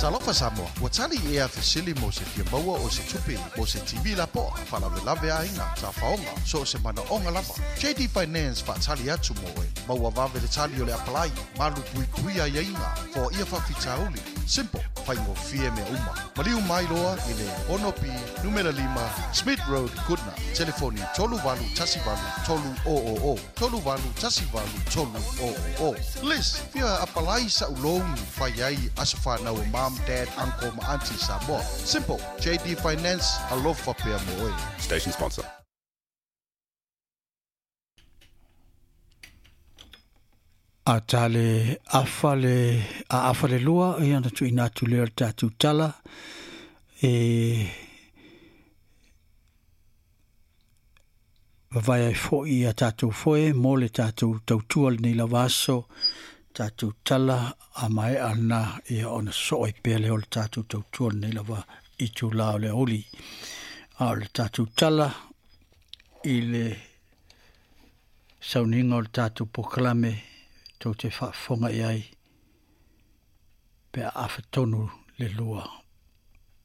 Talofa Samoa, ua tali ea fesili mo se fia maua o se tupe mo se TV lapoa, faalavelave aiga, tafaoga, so o se manaoga lava. JD Finance faatali atu mo oe. Maua vave le tali o le apalai, malu puipuia aiaiga, foaia faafitauli. Simple, faigofie mea uma. Maliu mai loa i le 6B, numera 5, Smith Road, Goodna. Telefoni 3818 300, 3818 300. Liz, fia apalai sa'u loan e fai ai aso fanau a mom, dad, uncle ma aunty i Samoa. Simple, JD Finance, alofa pea mo oe. Station sponsor. A ta le afa le, a afa le lua, ia ona tuuina atu lea o le tatou tala e vavae ai foi i a tatou foe mo le tatou tautua lenei lava aso, tatou tala a maea lena ia ona sosoo ai pea lea o le tatou tautua lenei lava itula o le aoauli. A o le tatou tala i le sauniga o le tatou polokalame tou te faafofoga i ai pe a afa tonu le lua.